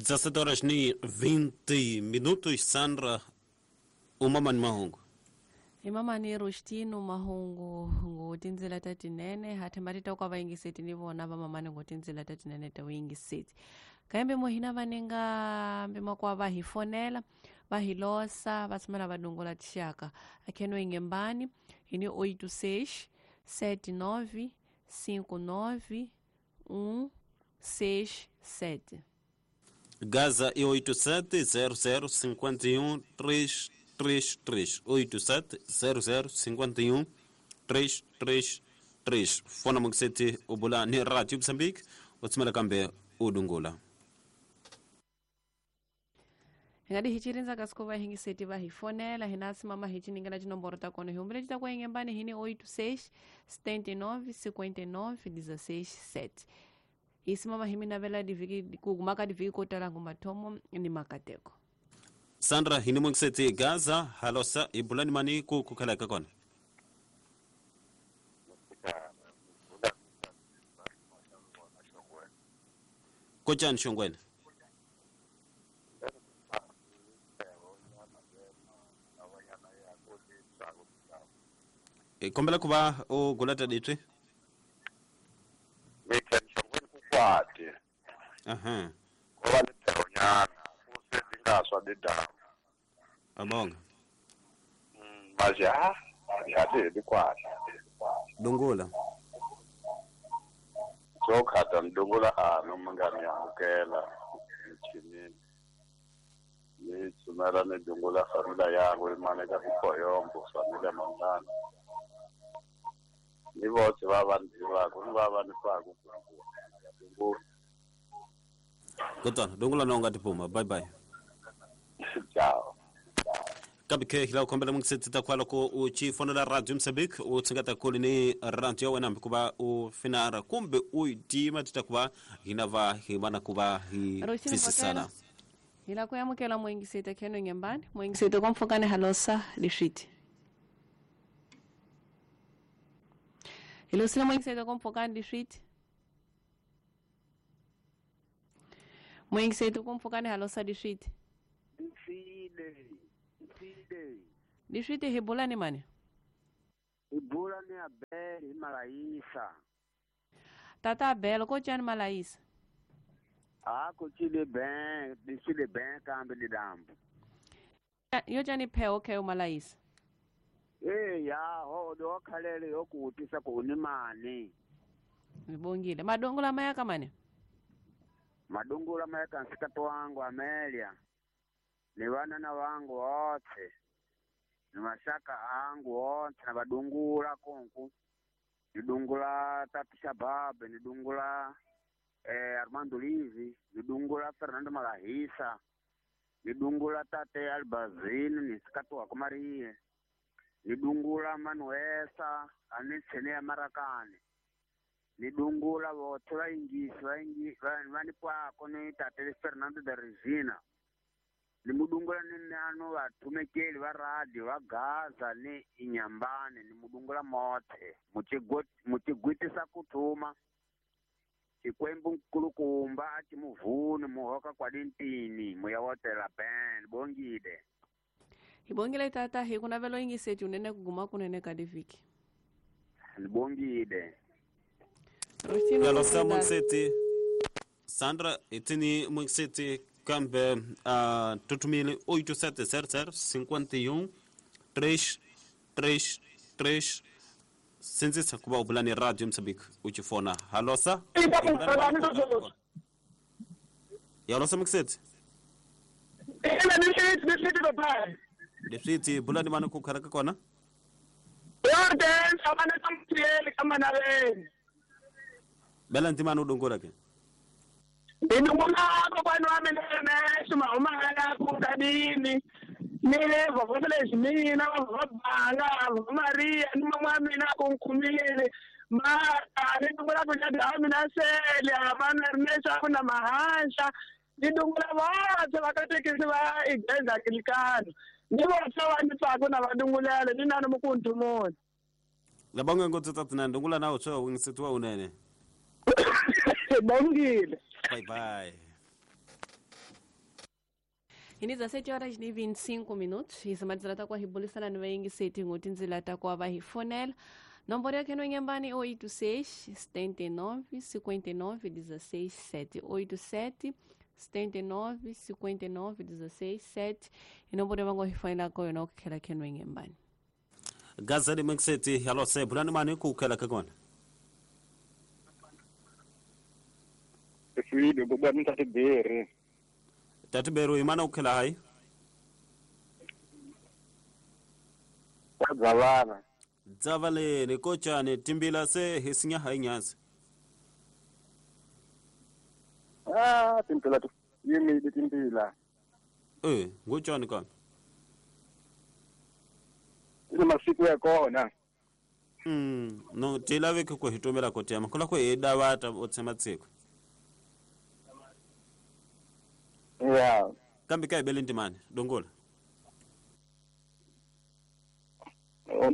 17 horas ni 20 minutos. Sandra, umamani mahungu. Imamani Rustino mahungu ngotinzela tatinene hathemba ta kwa vayingiseti ni vona vamamani ngotinzela tatinene ta vuyingiseti kambe mohina vanenga mbimakwa va hi fonela va hi losa va tshamela va dongola tixaka akheno ingembani hini 86 79 59 167 Gaza e 87 00 51 333 87 00 51 333 fona mungiseti ubula ni Radio Mozambique utsimela kambe udungula Ngadi hichirinza kasikova hingiseti va hi fonela hina simama hichiningela tinomboro ta kona hi humbile ta kwa ingembani hini 86 79 59 16 7 isimama himinavela diviki kugumaka diviki kotala ngumathomo ni makateko. Sandra hini mungiseti Gaza halosa ibulani mani ku kukhalaka kona. Kochani shongwena. Kombela kuba o gulata ditwe. Kwati. Aha. Ngoba lethonyana usedingaswa lidamu. Abonga. Manje ha yade likwati. Dungula. Sokhata ndungula ano mangani yamukela mchinini. Ni tsumela ni dungula familia yangu imane ka kukoyombo familia mangana. Ni votse va vanhu va ku ni va va ni faku ku. Kutana dungula na ungati puma bye bye. Ciao. Kambe ke hila kombela mungiseti ta kwala ko u chi fonela Radio Mozambique u tsingata kuli ni radio wena mkuba u finara kumbe u tima titakuba hina va hibana kuba hi fisisana. Hila kuyamukela muingiseti kheno ngembani muingiseti komfokane halosa lishiti. Hilosile muingiseti komfokane lishiti. Muingiseti komfokane halosa lishiti. Lishiti hibulani mani? Hibulani Abel Malaisa. Tata Abel ko chani Malaisa? Ah, ko chile ben, chile ben kambe lidambu. Yo chani pheo ke Malaisa? Eh ya, ho do khalele yokutisa ku ni mani. Nibongile. Madongola mayaka mani? Madongola mayaka nsikato wangu Amelia. Ni wanana wangu wote. Ni mashaka angu wote na badungula konku. Nidungula Tatu Shababe, nidungula Armando Livi, nidungula Fernando Malahisa, nidungula Tate Albazini, nisikatu wa Marie, nidungula Manuesa, anitsene ya Marakani. Nidungula wote vaingisi vaingi vanipwako ni Tate Fernando da Regina. Nimudungula ni nano vatumekeli va radio va Gaza ni inyambane nimudungula mote muchigwitisa kutuma Xikwembu nkulukumba a timuvuni muhoka kwa dintini muya wotela ben bongile. Hibongile tata hi kunavelo ingiseti unene kuguma kunene kadiviki. Bongile. Yalosa mungiseti Sandra itini mungiseti kambe tutumile 8700 51 333 sinzisa kuba ubulani Radio Mozambique uchifona halosa yalosa mungiseti Lefiti bulani mani kukharaka kona Bela ntimani udungula ke Ndinungula kokwani wami nemeso mahumala kukadini ni vavosele mina vavabanga Maria ni mama mina kunkumile ma ndinungula kunyada mina sele abana rimesa kuna mahansha ndinungula vose vakatekisi va igreja Anglikana ni vose va ni tsaka na vadungulele ni nani mukuntu muni Labangwe ngotsi tatina ndungula nawo tswa wingisetiwa unene Bongile. Bye bye. Hi 17 horas ni 25 minutos. Hi samadzela ta kwa hibulisana ni vayingiseti ngo tindzila ta kwa va hi fonela. Nomboro ya keno nyambani 86 79 59 16 7 87 79 59 16 7 inomboro vango hi fonela ko yona ku khela keno nyambani. Gazali mxeti halose bulani mani ku khela ka kona. Fide bobani tatiberi. Tatiberi imana ukhela hayi. Kwadzavana. Dzavaleni kochane timbila se hisinya hayi nyanza. Ah timbila yimi timbila. Ngochane ka. Ina masiku ya kona. No tilave ku hitomela kotema kula ku edavata otsema tsiko. Yeah. Kambe ka ibele ndimane dongola.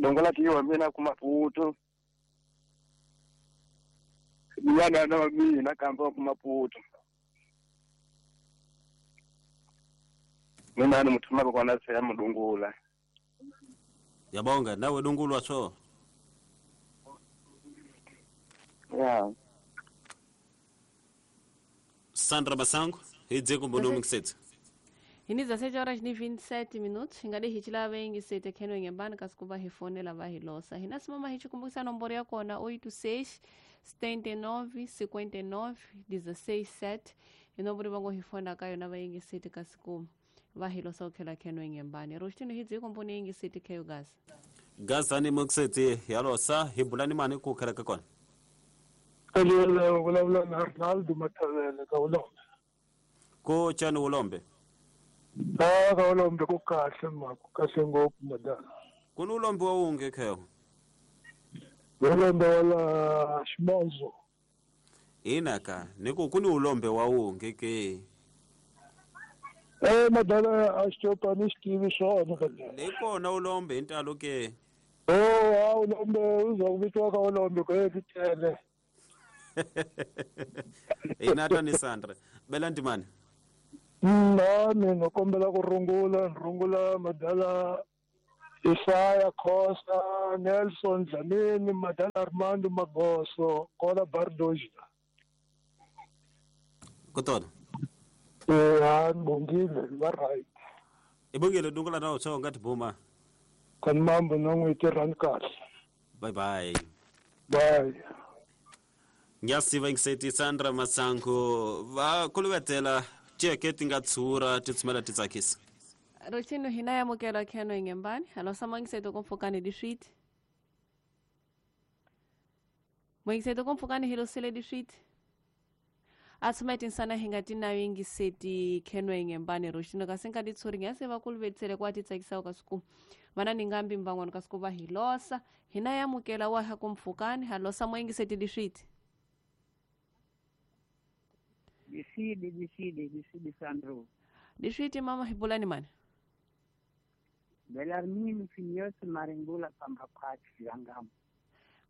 Dongola kiwa mina ku Maputo. Yana na mina kamba ku Maputo. Mina ni muthuma kona se ya mudungula. Yabonga nawe dungulwa so. Yeah. Sandra Masango hidze kumbono mxetsi. Hi 17 horas ni 27 minutos. Ingade hichila vengi sete keno ngembani kasikuba hifonela va hilosa. Hina simama hichikumbukisa nomboro ya kona 86 79 59 16 7. Inomboro vango hifona kayo na vaingi sete kasiku va hilosa ukhela keno ngembani. Roshtino hidze kumboni ingi sete keyo gas. Gazani mxetsi yalosa hibulani mani ku khela ka kona. Kalele vulavula na Arnaldo Matavele ka Ulombe. Ko chani Ulombe? Ah, ka Ulombe ku kahle ma, ku kahle ngopfu madala. Ku ni Ulombe wa unge kheyo? Ulombe wala Ximonzo. Ina ka, ni ku ku ni Ulombe wa unge ke. Madala a xitopa ni xitivi swona ka. Le kona Ulombe hi ntalo ke. Oh, Ulombe uza ku vitiwa ka Ulombe ku ye tele. Ina ni Sandra. Bela ndimane. Na mina kombela ku rungula madala Isaya Khosa, Nelson Dlamini, madala Armando Magoso, Kola Bardoja. Kutona. Bongile, va right. Ibongile dungula na utho ngathi buma. Kan mambo nongwe tirhan kahle. Bye bye. Bye. Ngiyasiva ngisethi Sandra Masango va kuluvetela tiyeke ti nga tshura ti tshumela ti tsakisa. Rochino hina yamukela kheno ngembani. Halo samangiseto kompfukani diswiti. Mwengiseto kompfukani hilosele diswiti. Atsumeti nsana hingati nayo ingiseti kheno ngembani Rochino kasenka ditshuri ngiyasiva kuluvetsele kwa ti tsakisa kasuku. Vana ningambi mbangwana kasuku va hilosa. Hina yamukela wa ha kompfukani. Halo samangiseti diswiti. Disidi Sandro. Diswiti mama hibulani mani. Belarmini Finyosi Maringula Pambapati Jangamu.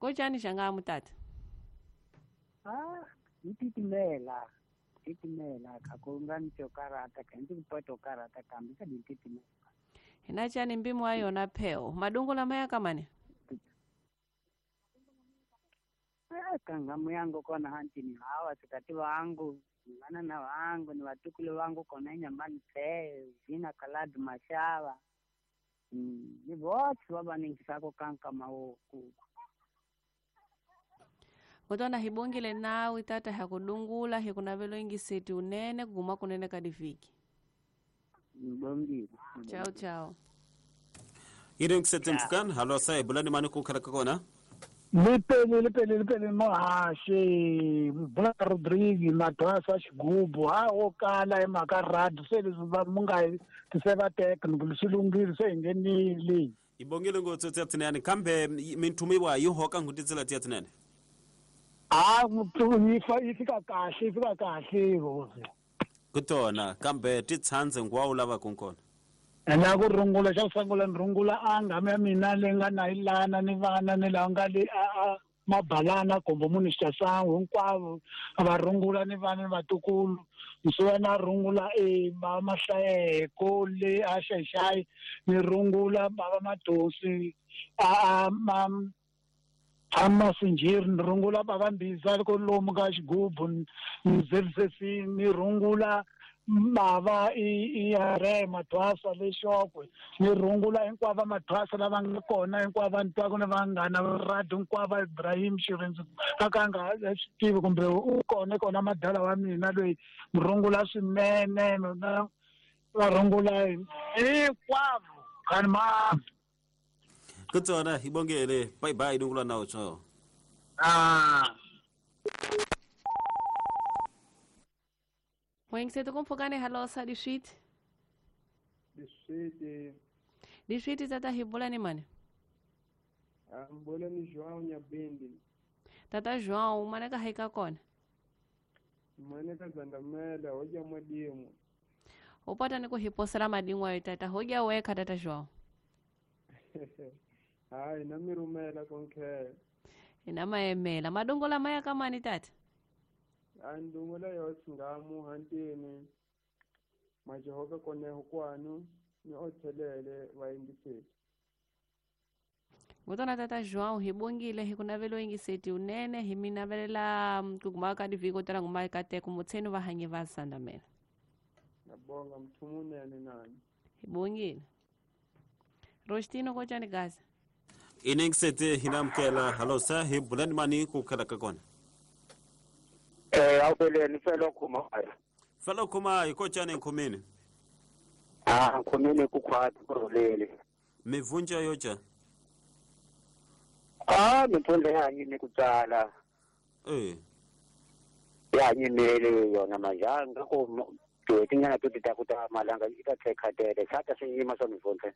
Kochani Jangamu tata? Ah, ntitimela. Titimela kakunga nchokarata kanti kupato karata kambisa ntitimela. Hina chani mbimu ayo na peo. Madungula maya kamani? Ah, kangamu yangu kona hanti ni hawa sikati wangu. Ngana na wangu ni watukule wangu kona nyambani pe jina kaladu mashawa ni wote baba ningisako kanka maoku kutona hibongile nawe tata hakudungula hikunavelo ingiseti unene kuguma kunene kadiviki mbongile. Ciao ciao. Iri ngiseti mfukan halo sai bulani mani ku khala kona. Lipele mohaxi Black Rodriguez Madwasa xigubu ha wo kala hi mhaka radio se leswi va mu nga ti se va teka ni ku swi lunghile se hi nghenile. Ibongile ngopfu tiya tinene kambe minthumiwa yi hoka nghu titsela tiya tinene. A yi fika kahle yi fika kahle hosi. Kutona kambe ti tshandze ngwa u lavaka kona. Na ku rungula xa ku sungula ni rungula a nghamu ya mina leyi nga na yi lana ni vana ni laha nga le a Mabalana kombo munhu xitasangu hinkwavo va rungula ni vana ni vatukulu msuwana rungula bava Mahlayeko le a Xaxayi ni rungula bava Madosi a Masinjiri ni rungula bava Mbiza loko lomu ka xigubu ni ZCC ni rungula bava i Hare Mathwasa le Xokwe ni rungula hinkwavo Mathwasa lava nga kona hinkwavo ni twaka ni vanghana va radio hinkwavo Ibrahim Xirindzi a ka nga swi tivi kumbe u kona kona madala wa mina loyi rungula swinene na va rungula hinkwavo kani ma kutsona hi bongele bye bye dungula nawo tsho Moyingiseti kumpfukani halosa diswiti. Diswiti. Diswiti tata hi bula ni mani? Mbula ni João Nyabindi. Tata João, maneka haika kona? Maneka Zandamela, hoja madimu. Upata ni kuhiposela madimu ayo tata, hoja weka tata João. Hai, nami rumela konke. Inama emela, madongola maya kama ni tata? Andungula yosingamu hantini majohoka kone hukwanu ni othelele vaingiseti. Ngutona tata João hibongile hikunavelo ingiseti unene himinavelela kugumaka diviko tala ngumaka te kumutsenu vahanyi va Zandamela. Nabonga mthumunene nani. Hibongile. Rostino kochani gaza. Inengiseti hinamkela halosa hibulani mani kukhala kakona. Awubeleni felo khuma. Felo khuma ikochane nkhumini. Nkhumini kukhwati kurulele. Mivunja yocha. Mivunja yanyini kutsala. Yanyimele yona manje ngakho tinyana tuti takuta malanga itathekhatele satha sinyima swa mivunja.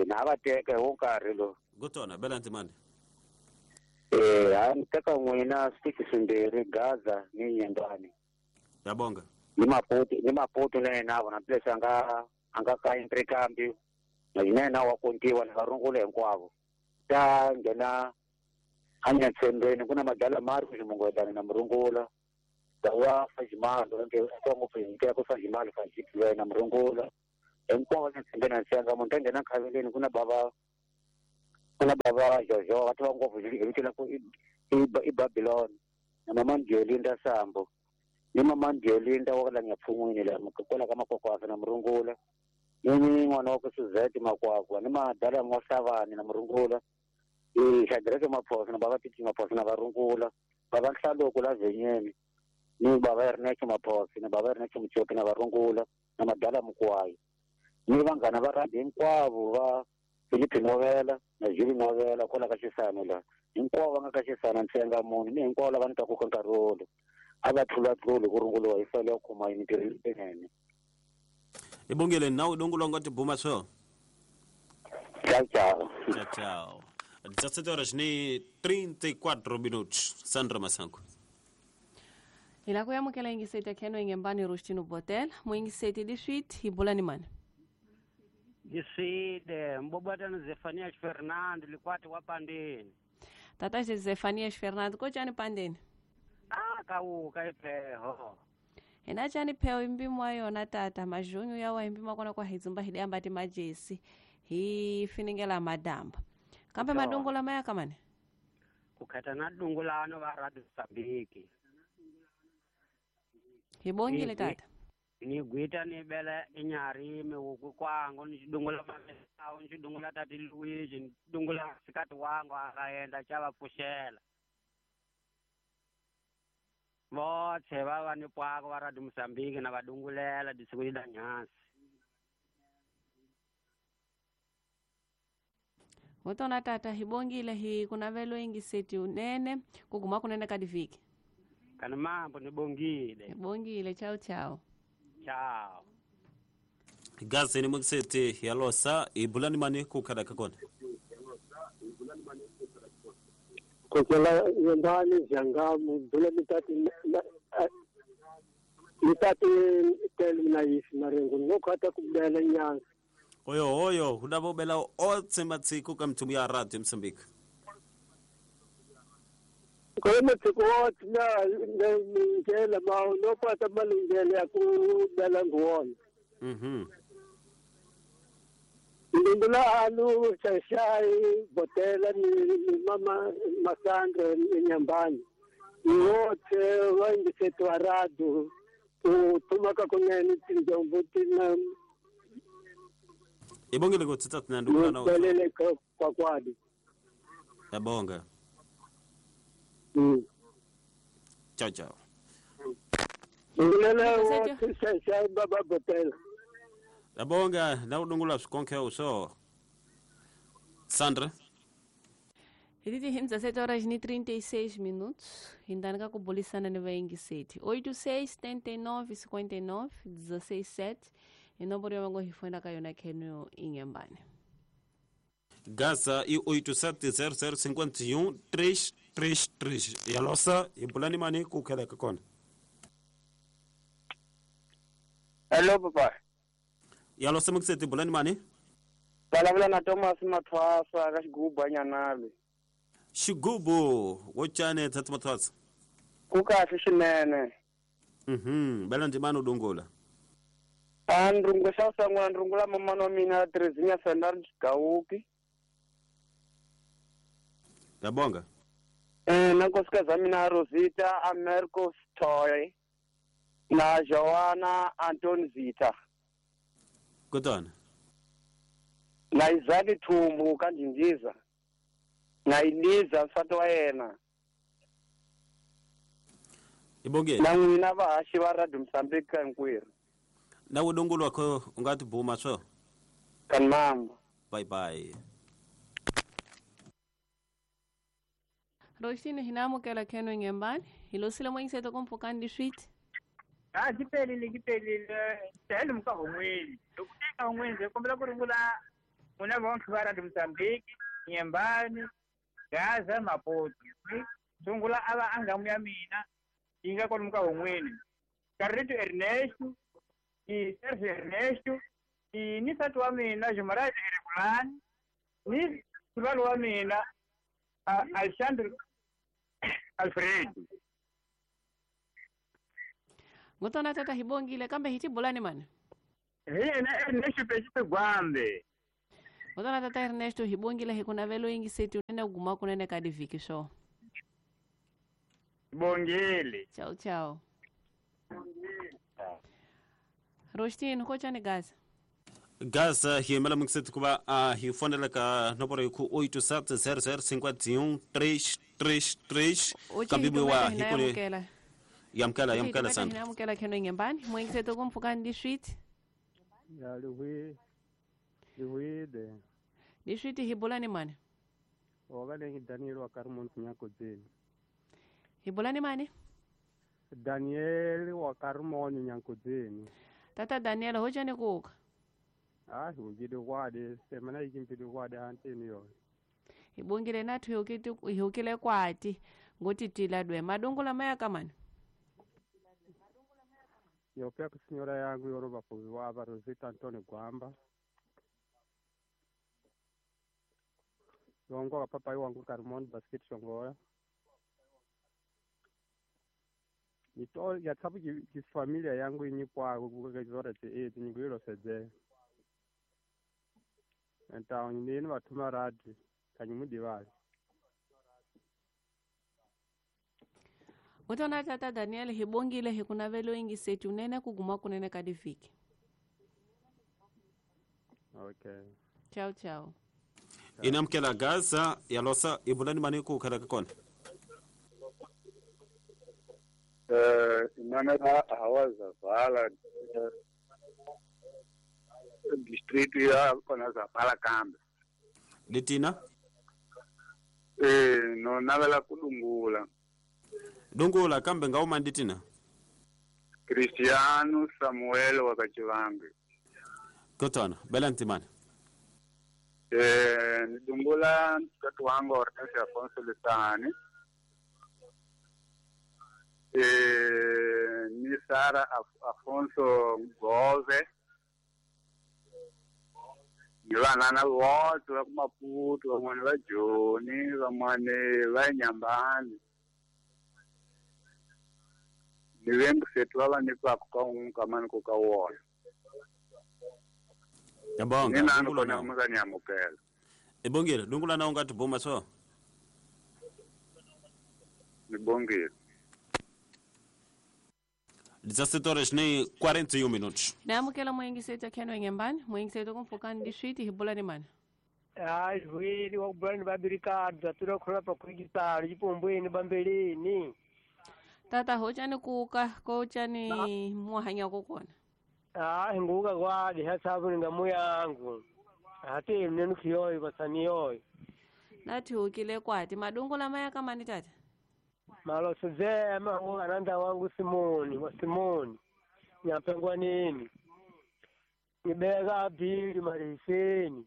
Navateke wonkarhi lo. Kutona bela ntimani. Anteka n'wina switiki swimbirhi Gaza ni Nyembani. Yabonga. Ni Maputo na yena vona place anga ka Intrikambi. Na yena wa kontiwa na varungula hinkwavo. Ta nghena anyatsembeni kuna madala mari ximungwetana na murungula. Ta wa Fajimalo nke ngopfu hi ku Fajimalo Fajimalo na murungula. Hinkwavo nyatsembeni na nsenga munhu ta nghena khaveleni kuna bava Jojo va tiva ngopfu hi vito la ku i Babylon na mama Ndiolinda Sambo ni mama Ndiolinda wa la Nyapfun'wini la kwala ka Makwakwafa na murungula ni n'wana wa ku Suzette Makwakwa ni madala N'wasavani na murungula i Shadrake Maphosa na bava Titi Maphosa na varungula bava Nhlaloko la Zenyeni ni bava Ernesto Maphosa na bava Ernesto Muchoki na varungula na madala Mukwayi ni vanghana va rhandi hinkwavo va Filipe Novela na Juli Novela kwala ka Xisano la hinkwavo va nga ka Xisano ntsenga munhu ni hinkwavo lava ni twaku ka nkarhi wolowo a va tlulatluli ku runguliwa hi fele ya khuma mintirho leyinene. Ibongile nawu dongulwa nga tibuma swo. Ciao ciao. Ciao ciao. 17 horas ni 34 minutos. Sandra Masango. Ila ku yamukela ingiseti yakheno ingembani Rustino Botel, muingiseti diswit hibulani mani. Diside mbobatana Zefanias Fernando likwati wa Pandeni. Tata Zefanias Fernando kochani Pandeni? Kauka ipheho. Ena chani pheho imbimwa yona tata majunyu yawa imbimwa kona kwa hizumba hidamba ti majesi hi finingela madamba. Kambe madungu maya kamane? Kukhata na dungulano va Radio Mozambique. Hibongile tata. Ni gwita ni bela inyarime uku kwangu ni chidungula mamesao ni chidungula tati Luigi ni chidungula sikati wangu akaenda chava pushela. Vothe va ni pwako va Radio Mozambique na vadungulela disiku da nyasi. Wotona tata hibongile hi kunavelo ingiseti unene kuguma kunene kadiviki. Kana mambo nibongile. Nibongile ciao ciao. Ciao. Gazi ni mukiseti ya losa ibulani mani kukhala kakona. Kokela yendani jangamu bula mitati mitati telu na yisi marengo ngokhata kubela nyanga. Hoyo hoyo hulava ubela otse matsiku ka mthumu ya radio Mozambique. Kwa matsiku otse na ngela ma no pata malungele ya ku bela nguona. Ndula alu shashai botela ni mama Masandra Nyambani. Wote waingisetwa radu tumaka kunene tinjombo tina ibongile kutsitsa tinandukula na belele kwa kwadi. Yabonga. Ciao ciao. Ndula wote shashai baba botela. Yabonga na udungula swikonke uso. Sandra. Hititi 17 horas e 36 minutos. Indanika kubulisana ni vaingiseti. 86 79 59 16 7. Inomboro ya wango hifuenda kayona kenu inyambane. Gaza i 87 00 51 333. Yalosa ibulani mani kukheleka kona. Hello papa. Yalosa mukiseti bulani mani? Balavula na Thomas Mathwasa ka xigubu anyanale. Xigubu wo chane tata Mathwasa. Ku kahle swinene. Bela ndimani udungula. A ndrungu xa sangula ndrungula mamana wa mina Terezinha Fernandes Gauki. Yabonga. Na nkosikazi wa mina Rosita Americo Toy na Joana Anton Zita. Kutana. Na Isaac Thumbu ka Ndindiza. Na Eliza nsati wa yena. Ibonge. Na n'wina vahaxi va Radio Mozambique hinkwerhu. Na udungulwa kho u nga tibuma swo. Kanmamba. Bye bye. Roxini hinamukela kenu inyambane. Hilosile mwengiseto kumpukani diswiti. Ah kipelile kipelile tele mukahomweni. Lokuteka homweni kombela ku ringula muna vonke va Radio Mozambique Nyembani Gaza Maputo. Sungula ava angamu ya mina yi nga kwalomu ka homweni. Carlito Ernesto i Sergio Ernesto i ni nsati wa mina Jumaraj Erekulani ni sulwalo wa mina Alexandre Alfredo. Ngotona tata hibongile kambe hitibulani mani. Hi yena Ernesto Pesipe Gwambe. Ngotona tata Ernesto hibongile hikunavelo ingiseti unene guma kunene kadiviki sho. Bongile. Ciao ciao. Rostino kochani Gaza. Gaza hiyemela mukiseti kuva hi fonela ka nomboro yi ku 87 00 51 333 kambe wa hikule yamkela yamkela Sandra. Yamkela kenu inyambani mwengiseto kumpukani diswiti. Ya lihui lihuide. Diswiti hibulani mani. Ogalengi Daniel wa Karmon Nyakodzeni. Hibulani mani? Daniel wa Karmon Nyakodzeni. Tata Daniel hochani kuuka. Ah hukile kwade semana ikimpili kwade anteni yo. Ibongile nathu hukile kwati ngotitila dwe madungula maya kamani. Yopya kusinyora yangu yoroba kuwa aba Rosita Antonio Gwamba. Yongo wa papa wangu Karmon Basket Shongoya. Nito ya tsabu ki familia yangu inyikwa kukazora te nyigwiro sedze. Enta nini vathuma radi kanyimudivali. Ngotona tata Daniel hibongile hikunavelo ingiseti unene kuguma kunene kadiviki. Okay. Ciao ciao. Inamkela Gaza yalosa ibulani mani kukhala kona. Imana hawa Zavala distrito ya kona Zavala kambe. Litina? No navela kudungula. Dungula kambe ngauma nditina? Cristiano Samuel wakachivambi. Kotona, bela ntimani. Nidungula mtoto wangu Hortensio Afonso Lisani. Ni Sara Afonso Gove. Ni vanana votse va ku Maputo, van'wani va Joni, van'wani va Nyambani. Ni vengiseti va va nyikwaka ka un'we ka mani ku ka wona. Yabonga. Ni nani kona mi nga ni amukela. Ibongile, dungula na unga tibuma so. Nibongile. 17 horas nem 41 minutos. Naamukela muingiseti akheno enyambani, muingiseti kumpfukani diswiti hibulani mani. Hayi vuyeli wa kubulani babirikadza tula khona pa kuikisalo chipombweni bambeleni. Tata hochani kuka kochani muhanya kokona. Hayi nguka kwadi hatsabu ningamu yangu. Hati mnenu kiyoyo basaniyoyo. Nathi ukile kwati madungu lamaya kamani tata. Maloso zema ananda wangu Simoni wa Simoni nyapengwa nini nibeka bili mariseni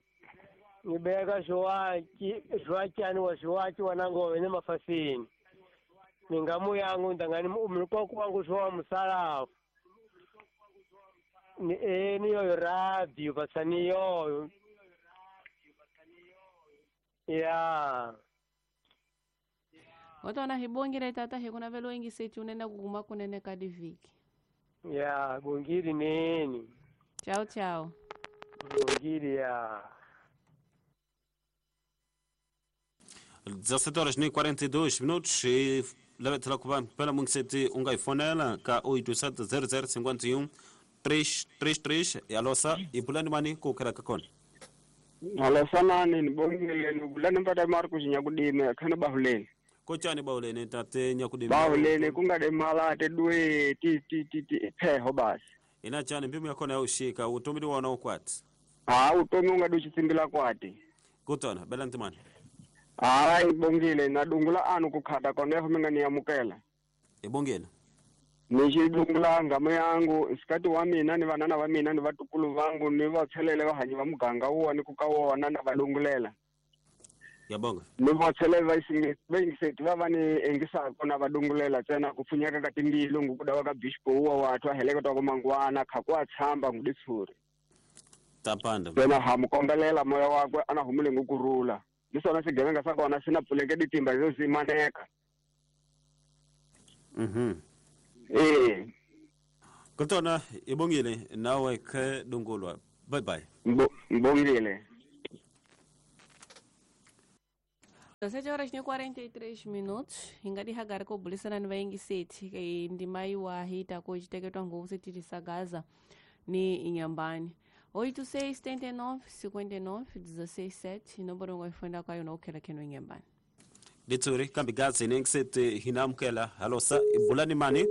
nibeka shwaki ani wa shwaki wanango ne mafasini ningamu yangu ndangani umlukoko wangu shwa musalafu ni eni yo radio basani yo ya Watona hibongile tata hikuna velo ingiseti unene kuguma kunene kadiviki. Ya, bongili nini. Ciao ciao. Bongili ya. 17 horas e 42 minutos e leva kuba pela mungiseti unga ifonela ka 870051 333 yalosa ibulani mani kukera kakona. Alosa nani nibongile nibulani mpata Marcus nyakudime khana bahuleni. Kochani baulene tate nyakudime. Baulene kungade malate dwe ti ti ti ti pheho basi. Ina chani mbimu yakona yaushika utomidi wana ukwati. Ah utomi ungade uchitsimbila kwati. Kutona bela ntimani. Hayi ibongile nadungula anu kukhata koneho minga niyamukela. Ibongile. Nixidungula ngamo yangu nsikati wa mina ni vanana va mina ni vatukulu vangu ni va tshelele vahanyi va muganga wona ku ka wona na valungulela. Yabonga. Ni va tshelele va yingiseti va va ni engisaka na valungulela ntsena ku pfunyeka ka timbilu ngukuda wa ka bispo wa wathu a heleketa ku mangwana kha ku a tshamba nguditshuri. Tapanda. Ntsena ha mu kombelela moya wakwe a na humule ngukurula. Ni swona swigevenga swa kona swi na pfuleke titimba yo zimaneka. Eh. Kutona ibongile nawe ke dungulwa. Bye bye. Mbongile. 17 horas e 43 minutos. Ingadi hagari ko bulisana ni vaingiseti ndima iwa hita ko chiteketwa nguvu titisa Gaza ni inyambani. 86 79 59 16 7 inomboro ngoifunda kwayo nokukhela kheno inyambani. Litsuri kambi gazi nengiseti hinamkela halosa ibulani mani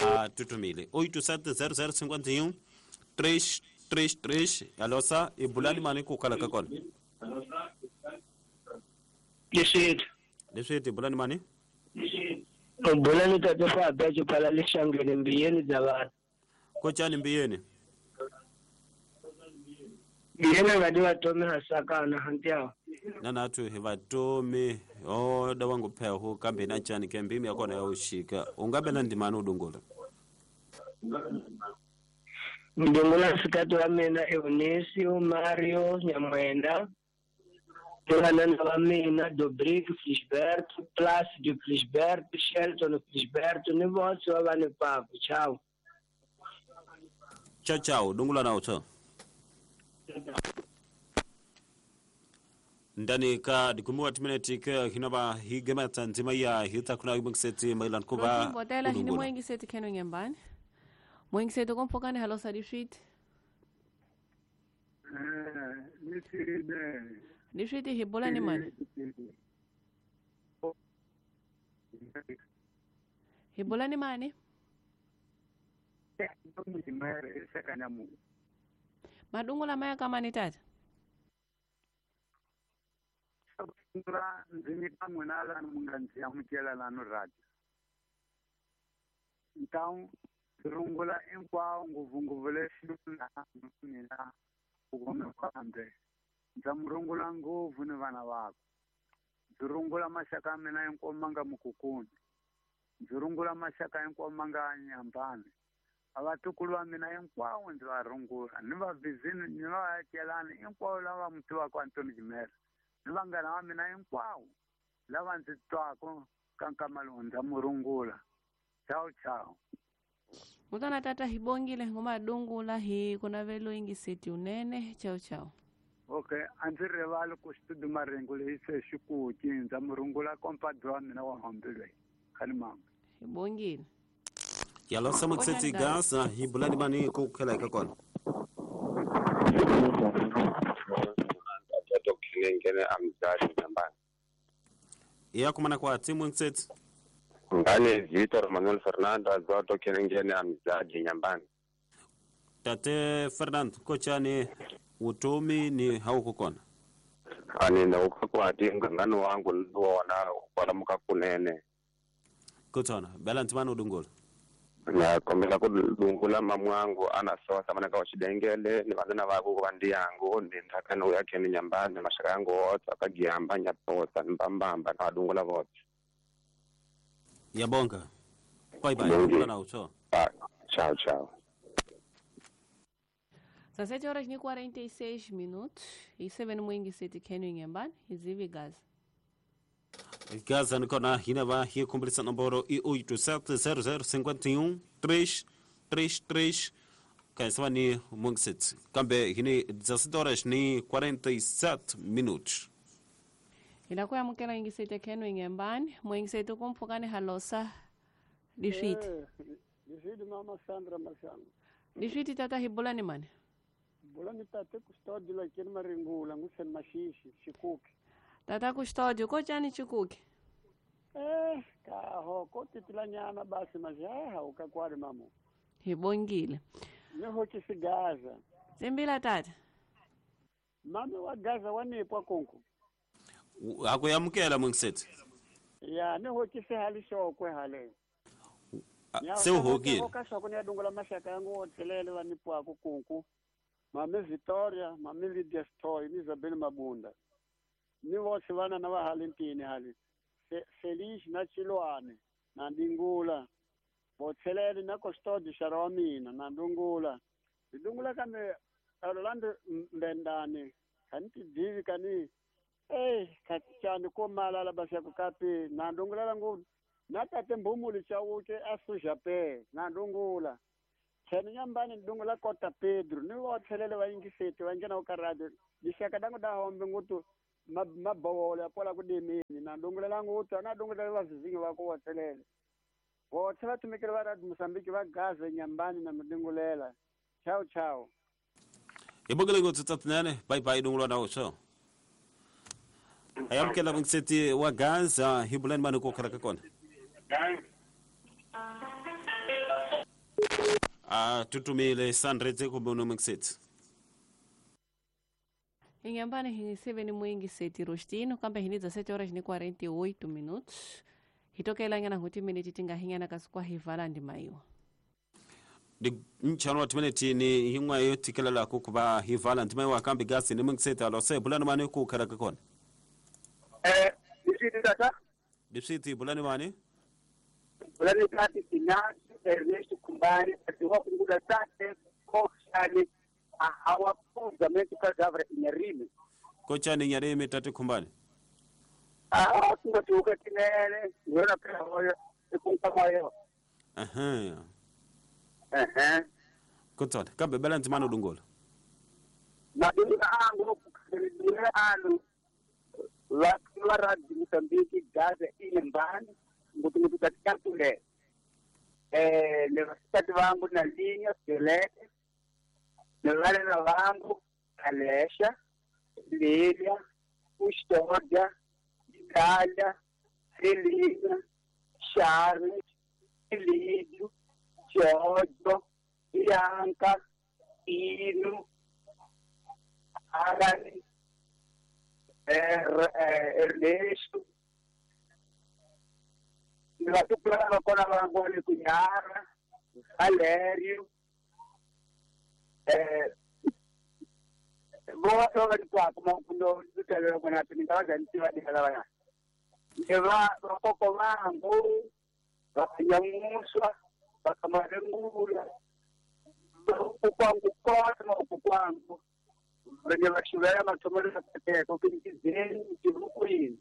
a tutumile 870051 333 halosa ibulani mani kukhala kakona. Leswethu. Leswethu ibulani mani? Ibulani tata fa bya phala lexangeni mbiyeni bya vanhu. Kochani mbiyeni? Mbiyeni nga di vatomi hasakana hantiawo. Nanathu hi vatomi o da wangu pheho kambe na chani ke mbimi yakona ya ushika ungabe na ndimani udungula. Ndungula sikati wa mina Eunicio Mario Nyamwenda. Vanana va mina Dobrik Flisberto Plácido Flisberto Shelton Flisberto ni votse va vani papu ciao. Ciao ciao dungula na utho. Ndani ka dikumiwa timineti ke hinaba higema tanzima ya hita kuna ibongiseti mailan kuba botela hini moingiseti kheno ngembani moingiseti kompokane halo sadifit Nishiti hibola ni mani? Hibola ni mani? Madungula maya kama ni tata? Ndza murungula ngopfu ni vana vakwe. Ndzi rungula maxaka ya mina hinkwawo ma nga mukukuni. Ndzi rungula maxaka hinkwawo ma nga nyambani. Vatukulu va mina hinkwavo ndzi va rungula ni vavhizini ni vaakelani hinkwavo lava mi tivaka Antoni Jimera ni vanghana va mina hinkwavo lava ndzi twaka ka nkama lowu ndza mu rungula. Ciao ciao. Mutana tata hibongile ngoma dungula hi kunavelo ingiseti unene. Ciao ciao. Okay, a ndzi rivali ku xitudu marengo leyi se xikuki ndza mu rungula kompadre wa mina wa hombilwe khani mama. Hibongile. Yalosa mutsetsi Gaza hi bulani mani ku khela ka kona. Ya kumana kwa timu mtsetsi. Ngane Victor Manuel Fernando azoto kenengene amzaji nyambani. Tate Fernando kochani utomi ni hauko kona. Ani na ukakwati ngangano wangu ndiwona kwalamuka kunene. Kotona bela ntimano udungola. Na kombela kudungula mamwangu anasosa mana ka chidengele ni vanana vako ku vandi yangu ni nthakano ya kene nyambani mashaka yangu wotsa kagiyamba nyapotsa mbambamba na vadungula votse. Yabonga. Bye bye. Na ucho. Tchau, tchau. São 7h46 e 7 mwingi seti kenu nyambani hizivi Gaza. Gaza nikona hinava hi kumbilisa nomboro i 870051 333 kaisava ni mungsit. Kambe hini 17h47. Ila kwa mukela ingisete kenu nyambani mwingisete kumphukane halosa lishiti. Lishiti mama Sandra Mashango. Lishiti tata hibulani mane. Bulani tate Custódio lakini maringula ngusen mashishi chikuki. Tata Custódio kochani chikuki? Kaho kotitilanyana basi majaha ukakwari mamu. Hibongile. Neho chisigaza. Zimbila tata. Mami wa Gaza wanipwa kunku. Akuyamukela mwengiseti. Ya neho chisihali shokwe hale. Sewuhokile. Okashoko niyadungula mashaka yangu otselele wanipwa kunku. Mami Victoria, mami Lydia Stoy, ni Isabel Mabunda. Ni vose vana na vahalintini hali. Felice na Chilwane, na Ndingula. Botselele na Custódio Xarawamina, na Ndungula. Ndungula kambe Orlando Mbendane, kanti divi kani. Kachani ko malala basya kukapi, na Ndungula langu. Na tate mbumuli chauke asuja pe, na Ndungula. Chani nyambani ndungula kota Pedro, ni wothelele wa ingiseti wa ngena ukaradio. Dishaka dangu da hombe ngutu mabawole apola kudimini na ndungula langu utu na ndungula vazizingi wako wothelele. Wothela tumikile va Radio Mozambique va Gaza nyambani na mdungulela. Ciao ciao. Ibogele ngothu tatnene bye bye ndungula na ucho. Ayamkela mngseti wa Gaza hibulani mani ko khala kona. Tutumile Sandreze kumbe mngseti. Ingambani hingiseve mwingi seti rostino kambe hiniza 7h48. Hitokela ngana huti minute tinga hingana kasukwa hivala ndimaiwa. Di nchano timinute ni hingwa yo tikelela kukuba hivala ndimaiwa kambe gasi ni mngseti alose bulani mani ku khala kona. Dipsiti tata. Dipsiti bulani mani? Bulani tati sinasi Ernesto Kumbani atiwa kungula tate koshani hawapuza metu kagavra inyarimi. Kochani inyarimi tate Kumbani? Tungatuka tinene ngona pela hoyo ikunka mayo. Aha. Aha. Kotsana kambe bela ntimano dungola. Madunga angu kudunga anu la Radio Mozambique Gaza inyambani ngutu katika tule. Ne vasitati vangu na Linha Violeta, ne valena vangu Alesha, Lilia, Custódia, Itália, Celina, Charles, Elídio, Giorgio, Bianca, Ino, Arani, Ernesto, vatukula kona vangu Kunyara, Valério, vose va ri makundo ndzi kona tinga ntiva dikala ne va vakoko vangu vakanyamuswa vakamarengula Renge va xivela mathomelo ya kateko ke ndizeni tivukwini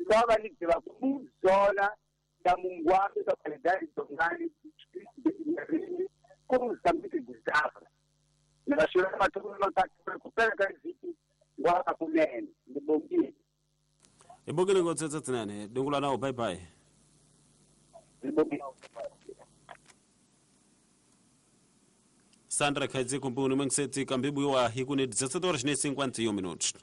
lava ni tiva ku zola da mungwapi ka paledai dongani ku Mozambique dizava ni va xivela mathomelo ya ku pela ka vhiki wa kunene ni bongile. Hi bongile ngopfu tsetsenene dungula nawo bye bye. Sandra Khaidze kumbuni mwengiseti kambibu wa hikune 17:51 minutos.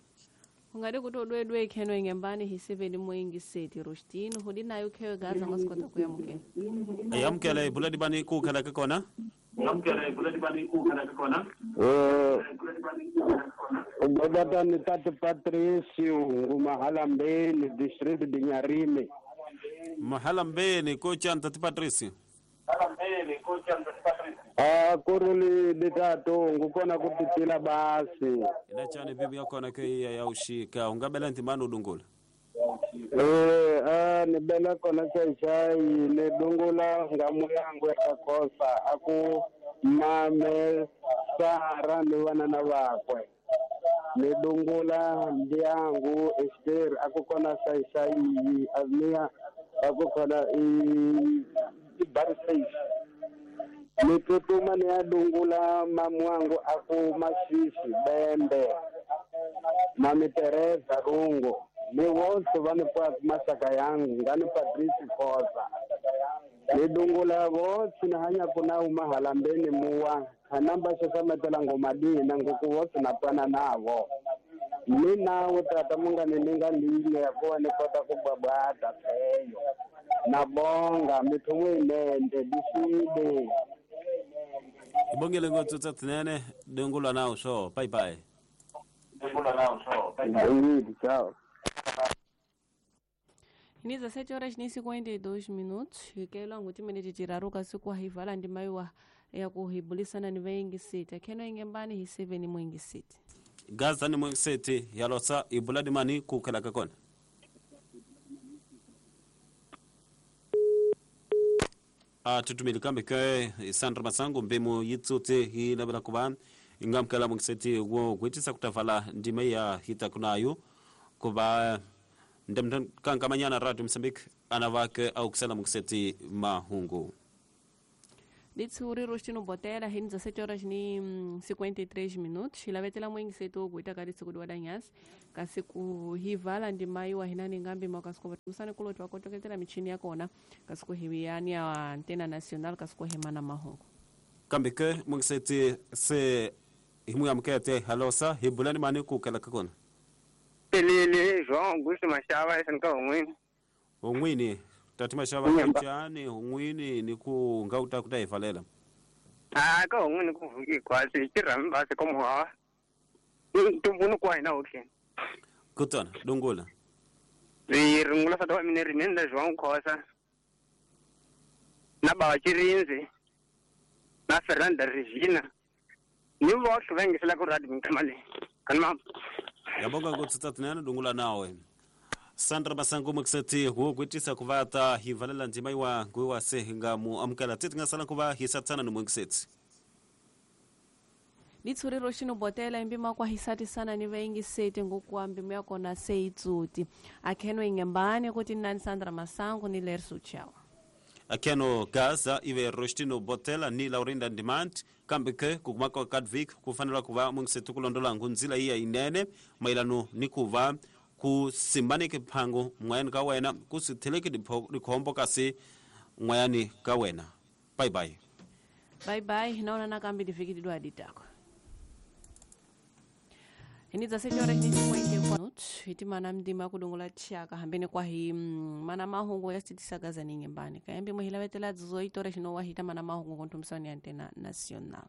Ungade kuti odwedwe ikheno ingembani hiseveni moingiseti Rostino hudi nayo khewe gaza ngasikota kuyamukela. Ayamukela ibuladi bani kukhala ke kona? Ayamukela ibuladi bani kukhala ke kona? Ubaba Tate Patricio ngumahalambeni district de Nyarime. Mahalambeni kocha Tate Patricio. Ah kuruli ditato ngukona kupitila basi. Ina chane bibi yako na kei ya ushika ungabela ntimano dungula. Ni bela kona chai ne dungula ngamu yangu yakakosa aku mame Sara ni wana na wakwe. Ni dungula ndiangu Esther akukona sai azmia akukona i barsafe. Nitutuma ni adungula mamwangu aku masisi bembe mami Teresa Rungo ni wonse vanipa masaka yangu ngani Patrice Kosa nidungula wonse nahanya kuna umahalambeni muwa kanamba shasametela ngomadina nguku wonse napana navo ni nawe tata mungani ninga linye yakuwa nikota kubwabwata feyo nabonga mithumu inende diside. Ibongile ngotso tsinene dungula nawo so bye bye. Dungula nawo so bye bye. Ciao. Ni 17:52 minutos ikelo nguti minute tiraruka siku hivala ndimaiwa ya kuhibulisana ni vengi sita keno ingembani hi 7 mwengi sita. Gaza ni mwengi sita yalosa ibuladi mani kukhala kakona. Tutumile kambe ke Sandra Masango mbemo yitsotse hi labela kuba ingamkala mwengiseti wo kwitisa kutavala ndima ya hita kunayo kuba ndemkankamanyana Radio Mozambique anavake au kusala mwengiseti mahungu. Ditsuri Rostino Botela hin 17:53 minutos ilavetela mwengiseti wo kuita kadi siku dwa danyas kasi kuhivala ndimaiwa hinani ngambi makasiko musane kuloti wakotoketela michini yakona kasi kuhiwiyani ya Antena Nacional kasi kuhimana mahungu. Kambe ke mwengiseti se himu ya mkete halosa hibulani mani kukela kakona. Pelele João Augusto Mashava esanka ongwini. Ongwini tati Mashava kuchani ongwini ni ku ngauta kutaivalela. Ah ka ongwini kuvuki kwasi chirami basi komuhawa. Tumbunu kwa ina okay. Kutana dungula. Rirungula fatawa mine rinenda João Khosa. Na bawa Chirinzi. Na Fernanda Regina. Ni voxe vengisela ku radio mkamale. Kanma. Yabonga ngotsatinana dungula nawe. Sandra Masango mkseti wo kwitisa kuvata hivalela ndima iwa ngwe se ngamu amkala tete ngasala kuva hisatsana no mkseti. Ditsuri Roshino Botela imbima kwa hisati sana ni vengi sete ngokuambi myakona seitsuti. Akheno ingembane kuti nani Sandra Masango ni Lerso Chawa. Akheno Gaza ive Rostino Botela ni Laurinda Demand kambike kukumaka kadvik kufanela kuva mkseti kulondola ngunzila iya inene mailano ni kuva kusimbanike phango mwayani ka wena kusitheleke dikhombo kasi mwayani ka wena. Bye bye. Bye bye naona nakambi difikidwa ditako. Ini 17:54 hitimana mdima kudungula chaka hambene kwa hi mana mahungu yasitisagaza ningembani kayambi muhilavetela 18 horas no wahita mana mahungu kontumsani Antena Nacional.